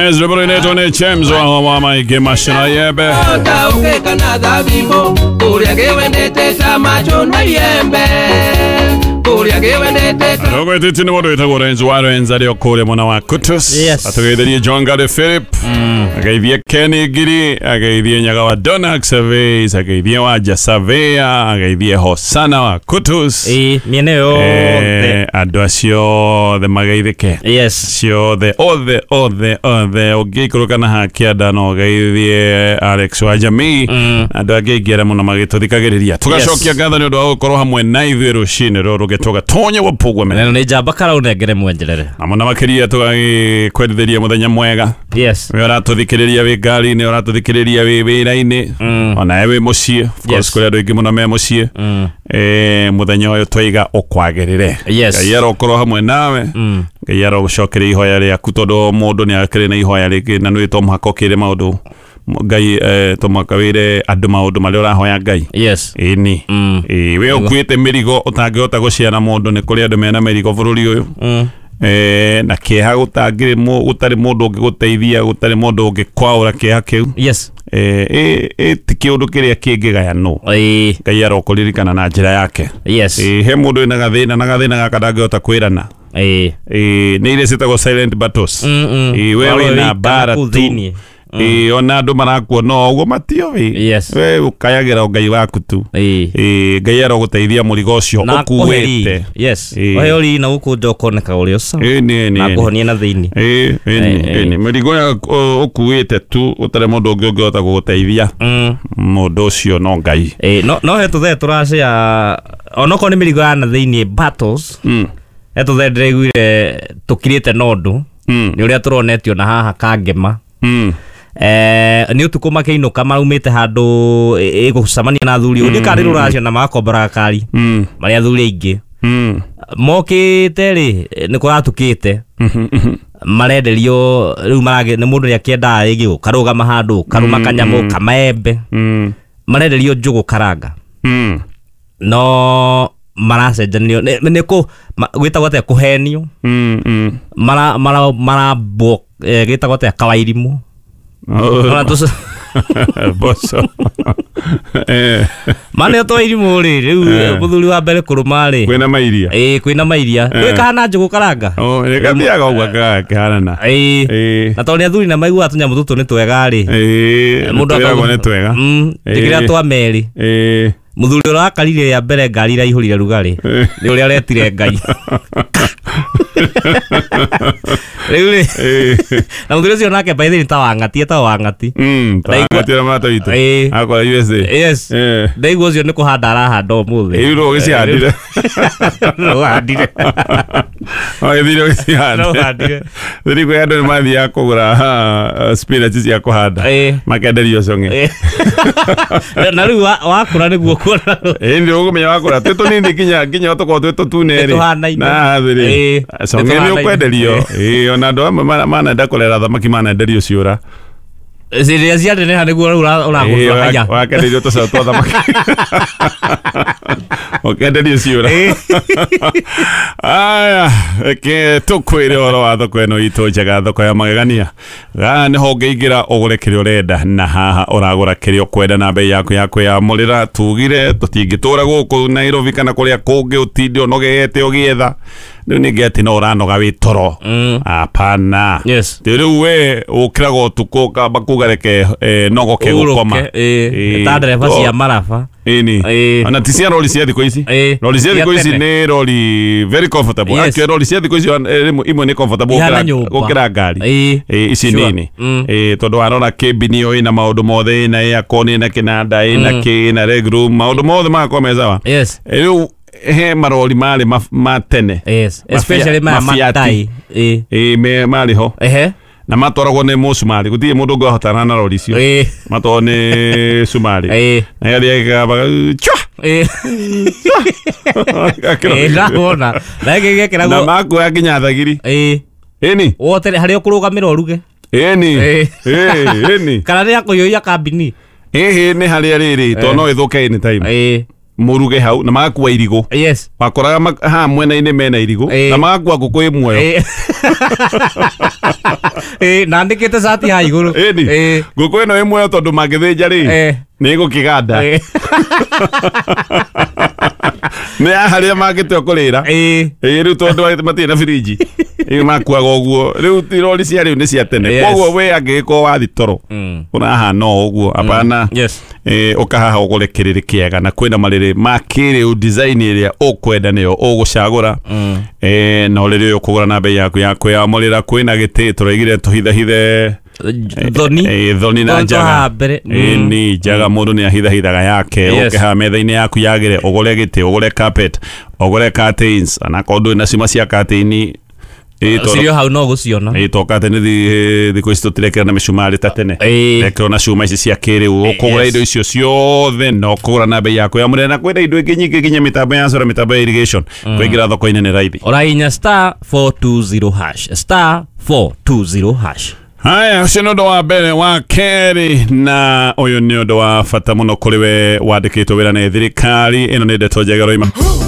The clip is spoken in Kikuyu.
Yes, rwĩmbo rũinĩtwo nĩ James wa Maingĩ Macina Yembe. Ũke kana thabibũ kũrĩa gĩwendete ta macho na iembe kũrĩa gĩwendete ta Rũgwĩtĩtie nĩ mũndũ wĩtagwo Renzo wa Renzo arĩ o kũrĩa mwena wa Kutus. Yes. Atũgeithirie John Gary Philip. Ageithie Kenny Ngiri, ageithie Nyaga wa Donax Surveys, ageithie Wanja Surveyor, ageithie Hosana wa Kutus. Ĩĩ, mĩena ĩyo yothe. Andũ acio othe mageithĩke. Yes. Ciothe othe othe othe ũngĩikũrũka na hakĩanda no ũgeithie Alex wa jamii andũ angĩ aingĩ arĩa mũno magĩtũthikagĩrĩria tũgacokia ngatho nĩ ũndũ wa gũkorwo hamwe na ithuĩ rũcinĩ rũrũ gĩtũgatonya wapũgwe Neno nĩ njamba karaũnengere mwenjerere. na mũno makĩria tũgagĩkwendithĩria mũthenya mwega. Yes. We ũratũthikĩrĩria wĩ ngari-inĩ, ũratũthikĩrĩria wĩ wĩra-inĩ, onawe wĩ mũciĩ. Of course, Yes. kũrĩ andũ aingĩ mũno me mũciĩ. Mũthenya ũyũ twaiga ũkwagĩrĩre. Yes. Ngai arokorwo hamwe nawe. Ngai arogũcokeria ihoya rĩaku tondũ mũndũ nĩ akĩrĩ na ihoya rĩngĩ na nĩ to mũhaka ũkĩre maũndũ Ngai, to mũhaka wĩre andũ maũndũ marĩa ũrahoya Ngai. Yes. Ĩni. Ĩĩ, we ũkuĩte mĩrigo ũtangĩhota gũciara mũndũ, nĩ kũrĩ andũ mena mĩrigo bũrũri ũyũ. Na kĩeha gũtangĩrĩ gũtarĩ mũndũ ũngĩgũteithia, gũtarĩ mũndũ ũngĩkwaũra kĩeha kĩu. Yes. Ĩ ti kĩũndũ kĩrĩa kĩngĩgayanwo. Ĩĩ. Ngai arokũririkana na njĩra yake. Yes. Ĩ, he mũndũ wĩna gathĩna na gathĩna gaka ndangĩhota kwĩrana. Ĩĩ. Ĩ, nĩ iria ciĩtagwo silent battles. Ĩ, we Warwo wĩna wĩ mbara kũu tu. thĩiniĩ. Ĩ, ona andũ marakuona o ũguo matioĩ. Yes. We ũkayagĩra o Ngai waku tu. Ĩĩ. Ĩ, Ngai arogũteithia mũrigo ũcio Na ũkuĩte. akũhe Yes. Ĩĩ. Ũheo riri na gũkũ nja ũkoneka ũrĩ ũca. Ĩ, nĩ Na nĩ akũhonie na thĩiniĩ. Ĩ, ĩni, Ĩ, ĩni. Mĩrigo ũkuĩte tu ũtarĩ mũndũ ũngĩ ũngĩhota gũgũteithia, mũndũ ũcio no Ngai. Ĩĩ, no he tũthee tũracĩa onokorwo nĩ mĩrigo ya na thĩiniĩ battles. He tũthee ndĩraiguire tũkirĩte na ũndũ nĩ ũrĩa tũronetio na haha Kangema. Nĩ ũtukũ makĩinũka maraumĩte handũ ĩgũcemania na athuri ũndĩ karĩ rũracio na magakombora gakari marĩ athuri aingĩ mokĩte rĩ nĩ kũratukĩte marenderio rĩu marage nĩ mũndũ nĩakĩendaga rĩngĩ ũkarũgama handũ ũkarũma kanyamũ kamaembe marenderio njũgũ karanga no maracenjanio nĩ kũ gwĩtagwo atĩa kũhenio mara mara marambwo gĩtagwo atĩa kawairimũ. Ona Boco. Mane twairimũ rĩ rĩu mũthuri wa mbere kũrũma rĩ Kwĩna mairia. Ĩĩ, kwĩna mairia gwĩkahana njũgũ karanga. Oh, nĩ gathiaga ũguo gakĩhanana. Ĩĩ. Ĩĩ. Na tondũ nĩ athuri na maiguaga tũnyamũ tũtũ nĩ twega rĩ Ĩĩ, mũndũ twĩragwo nĩ twega. Njĩkĩra twa merĩ. Ĩĩ. Mũthuri ũrĩa wakarire rĩa mbere ngari iraihũrire rugarĩ nĩ ũrĩa aretire Ngai rĩu rĩ Ĩĩ. na mũthuri ũcio nake by the way nĩ ta wang'ati etagwo wang'ati. Tawang'ati ũrĩa mũrata witũ. Ĩĩ. Akora USA. Yes. Ĩĩ. Ndaigua ũcio nĩ kũhanda arahanda ũmũthĩ. Ĩĩ, rĩu ũgĩcihandire. Ũhandire. Wagĩthire ũgĩcihande. No ũhandire. Rĩu kwĩ andũ nĩ mathiaga kũgũra spinach cia kũhanda. Ĩĩ. Makenderio cong'e. Ĩĩ. Na rĩu wakũra nĩguo kuona. Ĩĩ, nĩ ũkũmenya wakũra twĩ tũnini nginya tũkorwo twĩ tũtune rĩ. Nĩtũhanaine. Na haha thĩ rĩ. Ĩĩ, Cong'e nĩ nĩtũhanaine. ũkwenderio. Ĩĩ, ona andũ amwe manenda kũrera thamaki manenderio ciũra. Rĩrĩa cianeneha nĩguo rĩu ũragũtua haya. Wakenderio tũcaũ twa thamaki. Ũkenderio ciũra. Aya, reke tũkwĩre ũhoro wa thoko ĩno itũ njega, thoko ya magegania. Haha nĩho ũngĩingĩra ũgũre kĩrĩa ũrenda na haha ũragũra kĩrĩa ũkwenda na bei yaku ya kwĩyamũrĩra. Tugire tũtingĩtũra gũkũ Nairobi kana kũrĩa kũngĩ ũtinde ũnogete ũgĩetha. Rĩu ningĩ atĩ no ũranoga wĩ toro. Hapana. Yes. Rĩu we ũkĩraga ũtukũ ũkamba kuga reke nogoke gũkoma. Ũrũke, ĩĩ. Ĩĩ. Ta ndereba cia maraba. Ĩni. Ĩĩ. Ona ti cia rori cia thikũ ici. Ĩĩ. Rori cia thikũ Cia ici tene. nĩ rori very comfortable. Yes. Actually rori cia thikũ ici rĩmwe imwe nĩ comfortable Ihana nyũmba. gũkĩra ngari. Ĩĩ. Ĩĩ, ici Sure. nini. Ĩĩ, tondũ warora kĩmbini ĩyo ĩna maũndũ mothe, ĩna aircon, ĩna kĩnanda, ĩna kĩ, ĩna leg room, maũndũ mothe magakorwo me sawa. Yes. Rĩu he marori marĩ ma tene. Yes. Especially maya Mafiati. matai. Ĩĩ. Ĩĩ, marĩ ho. Ehe. Na matwaragwo nĩ mũcumarĩ, gũtirĩ mũndũ ũngĩ wahotana na rori icio. Ĩĩ. Matwaragwo nĩ cumarĩ. Ĩĩ. Na ĩgathiĩ ĩgĩkabaga chwa. Ĩĩ. Ĩĩ, ndawona. Na ĩngĩ Na ĩgekĩragwo. makuoya nginya thagiri. Ĩĩ. Ĩni. Wote harĩa ũkũrũgamĩra ũruge. Ĩni. Ĩĩ. Ĩĩ, ĩni. Kana nĩ ya kũiyũria kambini. Ĩhĩ nĩ harĩa rĩrĩ tondũ no ĩthũke anytime. Ĩĩ. Mũruge hau na magakua irigũ. Yes. Wakoraga haha mwena-inĩ mena irigũ na magakua ngũkũ ĩ muoyo. Na andĩkĩte cati ha igũrũ. Ĩni ngũkũ ĩno ĩ muoyo tondũ mangĩthĩnja rĩ nĩ ĩgũkĩganda. Nĩ ya harĩa mangĩtua kũrĩra. Rĩu tondũ matirĩ na birinji makuaga ũguo. Rĩu rori cia rĩu nĩ cia tene. Koguo we angĩgĩkorwo wathi toro ũrahana o ũguo apana. Ũkahaha ũgũre kĩrĩrĩ kĩega na kwĩna marĩrĩ ma kĩrĩu design ĩrĩa ũkwenda nĩyo ũgũcagũra. Na ũrĩrĩ ũyũ ũkũgũra na bei yaku ya kwĩyamũrĩra. Kwĩna gĩtĩ tũraigire tũhithahithe thoni thoni na njaga. Ni njaga mũndũ nĩ ahithahithaga yake. Ũke metha-inĩ yaku yagĩre ũgũre gĩtĩ, ũgũre carpet, ũgũre curtains, ana korwo ndũrĩ na cuma cia curtain cirio hau no gũciona. Toka tene thikũ ici tũtirekĩra na mĩcumarĩ ta tene, rekĩrwo na cuma ici cia kĩrĩu. Ũkũgũra indo icio ciothe na ũkũgũra na bei yaku ya mũrĩre. Na kwĩna indo ingĩ nyingĩ nginya mĩtambo ya solar, mĩtambo ya irrigation. Kũingĩra thoko-inĩ nĩ raithi. Ũrahihinya *420#, *420#. Haya, ũcio nĩ ũndũ wa mbere. Wa kerĩ, na ũyũ nĩ ũndũ wa bata mũno kũrĩ we wandĩkĩtwo wĩra nĩ thirikari. Ĩno nĩ ndeto njega roima.